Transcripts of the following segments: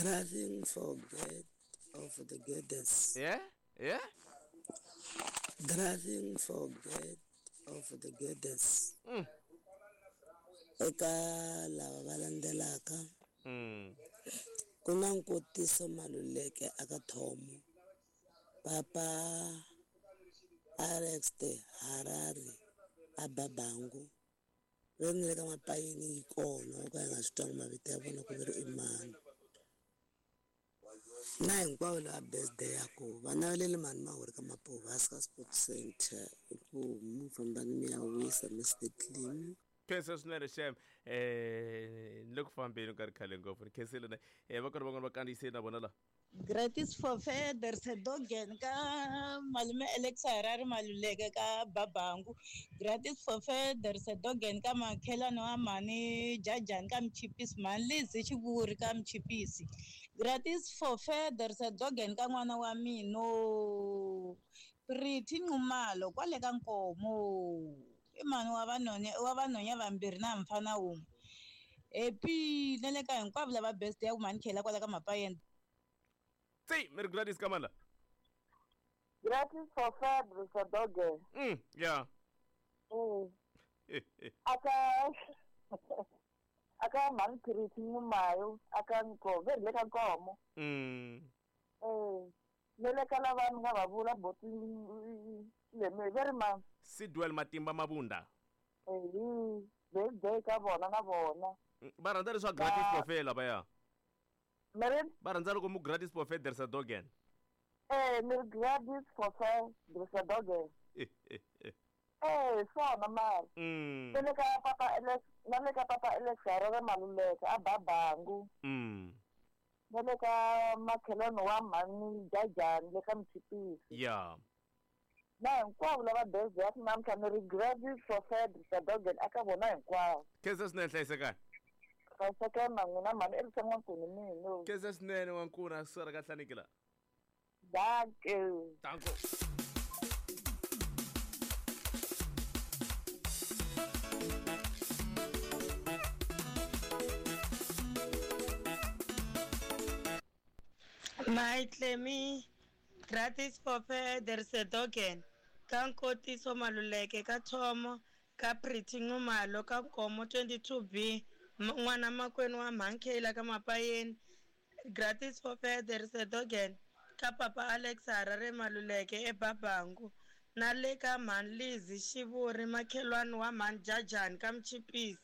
Driving for get of the goddess. Yeah? Yeah? Driving for get of the goddess. Eka lava va landzelaka ku na Nkotiso Maluleke aka Thomo, Papa Alex de Harare a Babangu ve ni le ka mapayini yi kona yo ka yi nga swi twangi mavito ya vona ku ve ri i mani na hinkwavo lava birthday ya ku va naveleli mani mahuri ka Mapuvaska Sports Center i ku mu fambani mi ya wisa Mr Clean. Khensa swinene xem ni le ku fambeni ku nga ri khale ngopfu ni khensile ne va kona van'wana va kandziyisile na vona la. Gratis for Verdersedogen ka malume Alex Harare Maluleke ka Babangu. Gratis for Verdersedogen ka makhelwani wa mhani Jajani ka Mchipisi, mhani Lizzy Xivuri ka Mchipisi. Gratis for Verdersedogen ka n'wana wa mina Pretty Nxumalo kwale ka Nkomo. I mhani wa vanhwanya wa vanhwanya vambirhi na mfana wun'we. Happy na le ka hinkwavo lava best ya ku mhani Khela kwala ka Mapayeni. Tsi, mi ri Gladys ka mani la? Gratis for February for doge. Yeah. Aka aka mhani Pretty Nxumalo aka Nkomo, ve ri le ka Nkomo. Ne le ka lava ni nga va vula boti le ve ri mani? Sidwell Matimba Mabunda. Ehi, birthday ka vona na vona. Va rhandza leswa gratis buffet lavaya. Mary? Va rhandza loko mu gratis buffet there's a dogen. Ni ri gratis buffet there's a dogen. Swona mara. Na le ka papa Alex, na le ka papa Alex Harare Maluleke a Babangu. Na le ka makhelwani wa mhani Jajani le ka Mchipisi. Yeah. Na hinkwavo lava birthday ya namuntlha ni ri gratis for Fred Sadogen aka vona hinkwavo. Khensa swinene hlayisekani. Hlayisekani na n'wina mhani i ri N'wankuni mina. Khensa swinene N'wankuni a swi ka hlaniki la. Dankie. Danko. My Clemi, gratis for Verdersedogen, ka Nkotiso Maluleke ka Thomo, ka Pretty Nxumalo ka Nkomo 22B, n'wana makwenu wa Mhankhela ka Mapayeni, gratis for Verdersedogen, ka Papa Alex Harare Maluleke eBabangu, na le ka Mhani Lizzy Xivuri makhelwani wa Mhani Jajani ka Mchipisi.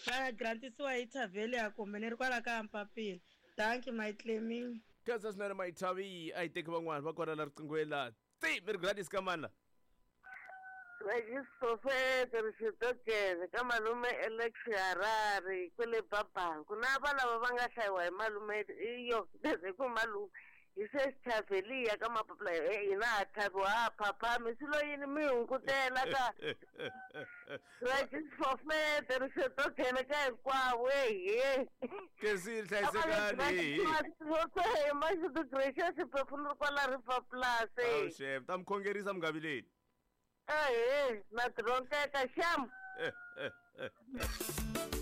Va grantisiwa hi Thavelia kumbe ni ri kwala ka Mpapila. Dankie my Clemi. Khensa swinene Mayithavi, a hi teki van'wana va kona la riqinghweni la. Tsi, mi ri Gladys ka mani la? Gladys Professor Rixitokele ka malume Alex Harare kwele Babangu na va lava va nga hlayiwa hi malume iyo leswi ku malume hi se Xithaveliya ka mapapila hina ha thaviwa ha phaphami swi lo yini mi hungutela ka Gladys Professor Rixitokele ka hinkwavo ehe. Kensile hlayisekani. Mashudu Gracious Phefumuri kwala River Plus. Awu xem, ta mi khongerisa mi nga vileli. Ehe, na tironkeka xam.